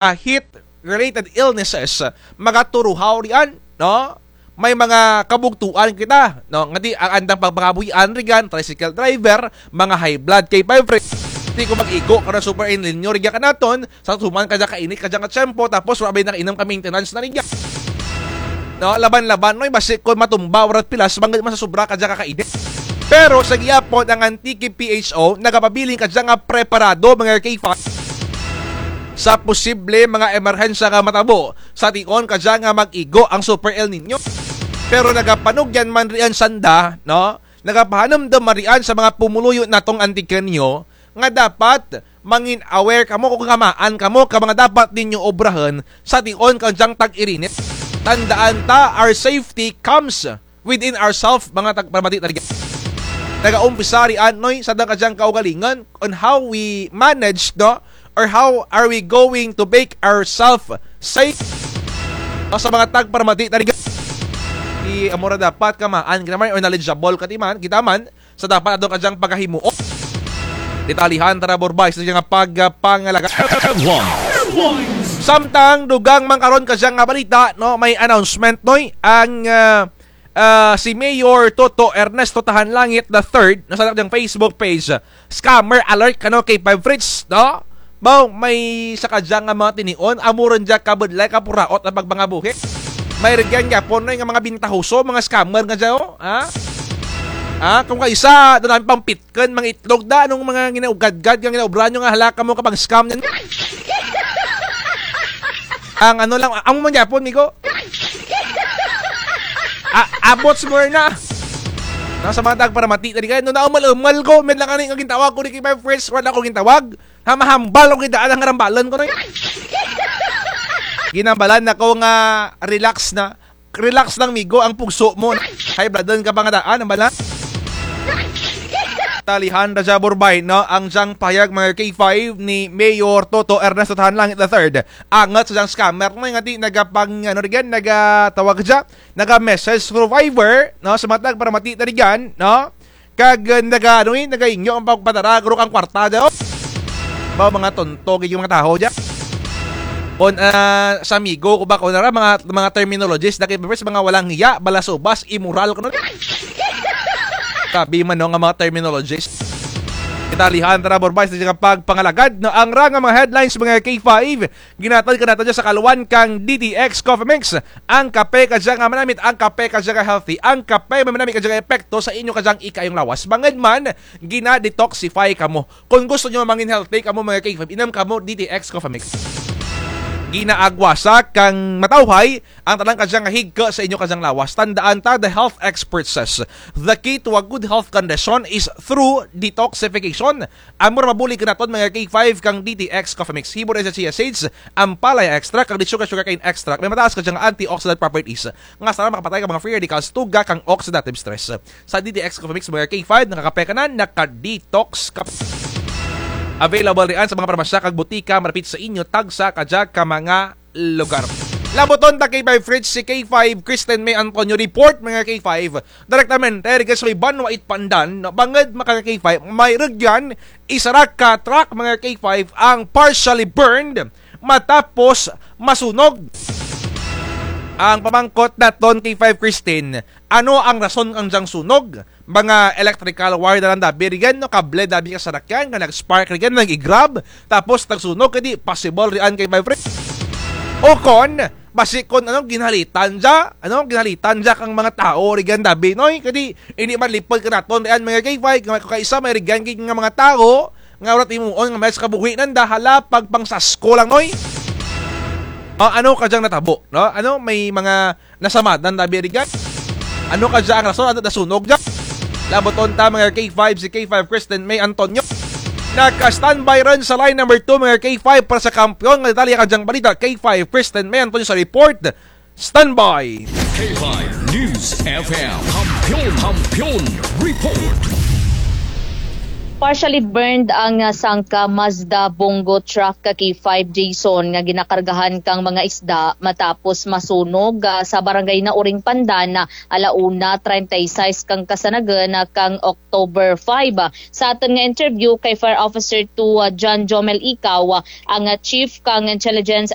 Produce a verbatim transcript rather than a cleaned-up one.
heat-related illnesses, magaturuhaw riyan, no? May mga kabugtuan kita, no? Nga ti, ang andang pagpangabuhian riyan, tricycle driver, mga high blood, K five friends. Ti kon mag-igo karon super El Niño riyan kanaton, sa tuman kadya kainit, kadya nga tiyempo, tapos wara bay nakainom ka maintenance na riyan. No, laban-laban, no, basi kon matumba, wara't pilas, bangud man sa sobra kadya ka kainit. Pero sa gihapon, ang Antique P H O, nagapabilin kadya nga preparado, mga K five, sa posible mga emerhensya nga matabo, sa tion kadya nga mag-igo ang Super El Niño. Pero nagapanugyan man riyan sanda, no? Nagapahanumdum man riyan sa mga pumuluyo natong Antiqueño, nga dapat mangin aware kamo kon kamaan kamo ka mga dapat ninyo obrahun sa tion kadyang tag-irinit. Tandaan ta, our safety comes within ourselves, mga tagparamati ta riyan. Nagaumpisa riyan, noy, sa andang kadyang kaugalingon on how we manage, no? Or how are we going to make ourselves safe? No, sa mga tagparamati ta riyan. Ti amo ra dapat kamaan kita man or knowledgeable ka ti man, kita man, sa dapat ato kadyang pagahimuon. Detalyehan tara, Borbay, sa dyang pagpangalagad. Samtang dugang man karon kadya nga balita, no, may announcement, noy, ang, ah, ah, si Mayor Toto Ernesto Tahanlangit the third, no, sa dyang Facebook page, scammer alert kano K five Fritz, no? Baw, may sa kadya nga mga tinion, amo run dya kabudlay, kapuraot ang pagpangabuhi. May rugyan gihapon, noy, nga mga bintahoso, mga scammer nga dya, oh, ha? Ha? Kon kaisa, dun ang pangpitkun, mga itlog da, anong mga ginaugadgad, nga ginaobra nyo nga hala kamo ka pang-scam nyan. Ang ano lang, amo man gihapon, migo. A-, abot siguro na. Nasa mga tagparamati ta riyan, no, naumal-umal ko, may lang ani nga gintawag ko ni K five Fritz, wara ko gintawag. Hamahambal ko kita, ang harambalan ko, noy. Ginhambalan nako nga relax na. Relax lang, migo, ang pugso mo. High blood ka pa nga daan, ang bala. Detalyehan ra dya, Borbay, no? Ang dyang pahayag, mga K five, ni Mayor Toto Ernesto Tahanlangit the third. Angut sa dyang scammer, no? Nga ti nagapang, ano riyan, nagatawag dya, naga-message through Viber, no? Sa mga tagparamati ta riyan, no? Kag, eh, naga, ano, eh, nagainyo ang pagpadara, guro kang kwarta dya, oh. Baw, mga tonto, gid yung mga tawo dya. Kon, ah, sa migo ko ba, kon ara, mga, mga terminologies, na kay, mga walang hiya, balasubas, immoral, kuno. Sabi man, no, nga mga terminologies. Detalyehan tara, Borbay, sa dyang pagpangalagad, no, ang ra nga mga headlines, mga K five, ginhatag kanato dya sa kaluan kang D T X Coffee Mix. Ang kape kadya nga manamit, ang kape kadya nga healthy, ang kape may manamit kadya nga epekto sa inyo kadyang ikaayong lawas. Bangud man, gina-detoxify kamo. Kon gusto nyo mangin healthy kamo, mga K five, inum kamo D T X Coffee Mix. Ginaagwasa kang matawhay ang tanan kadya nga higko sa inyo kadyang lawas. Tandaan ta, the health expert says, the key to a good health condition is through detoxification. Amo ra mabulig kanaton, mga K five, kang D T X Coffee Mix. Himo ra sa chia seeds, ampalaya extract, kag sugar, sugarcane extract. May mataas kadya nga antioxidant properties nga sara makapatay kang mga free radicals, tuga kang oxidative stress. Sa D T X Coffee Mix, mga K five, nakakape ka na, naka-detox ka. Available riyan sa mga parmasya kag butika malapit sa inyo, tagsa kadya ka mga lugar. Labuton ta, K five Fritz, si K five Kristen May Antonio report, mga K five. Direktamente, rugya sa may Banwa it Pandan, no, bangud maka K five, may rugyan, isara ka truck, mga K five, ang partially burned, matapos masunog. Ang pamangkot naton, K five Kristen, ano ang rason kang dyang sunog? Mga electrical wire na lang dabi riyan, no? Kable dabi ka sarakyan, nga nag-spark riyan, nag-i-grab, tapos nagsunog, kadi possible riyan, K five Fritz. O kon, basi kon, ano, ginhalitan dya, ano, ginhalitan dya kang mga tawo riyan dabi, noy? Kadi, indi man lipud kanaton riyan, mga K five, nga kaisa may riyan gid nga mga tawo, nga wara't himuon, nga may sa kabuhi nanda, hala, pagpangsasko lang, noy? Ah, ano kadyang natabo, no? Ano, may mga nasamadan dabi riyan? Ano kadya ang rason, ano nasunog dya? Labuton ta, mga K five, si K five Kristen May Antonio. Naka-standby run sa line number two, mga K five, para sa kampiyon nga detalye kadyang balita. K five Kristen May Antonio sa report. Standby. K five News F M. Kampiyon, Kampiyon Report. Partially burned ang, ah, sangka Mazda Bongo truck K five Jason nga ginakargahan kang mga isda matapos masunog, ah, sa barangay Nauring Pandan, ah, ala una treinta y seis kang kasanagan, ah, kang October five. Ah, sa atun nga interview kay Fire Officer two, ah, John Jomel Ikaw, ah, ang, ah, Chief kang Intelligence